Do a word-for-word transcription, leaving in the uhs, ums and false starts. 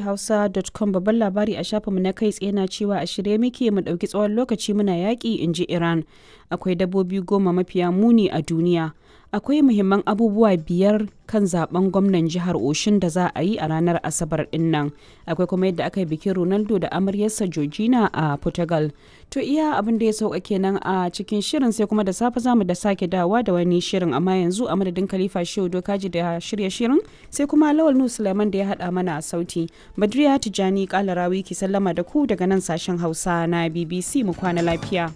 Hausa dot com babban labari a shafinmu na kai tsaye na cewa a shirye muke mu ɗauki tsawon lokaci muna yaƙi, in ji Iran. Akwai dabbobi goma mafiya muni a duniya. Akwai muhimman abubuwa biyar kan zaben gwamnan jihar Oshun da za a yi a ranar Asabar din nan. Akwai kuma yadda aka yi bikin Ronaldo da amaryarsa Georgina a Portugal. To, iya abin da ya sauka kenan a cikin shirin, sai kuma da safe zamu da sake dawa da wani shirin, amma yanzu a madadin Khalifa Shehu Dokaji da shirya shirin, sai kuma Lawal Nu Suleiman da ya hada mana a sauti. Badriya Tijani Kalarawi ki sallama da ku daga nan sashen Hausa na B B C, mu kwana lafiya.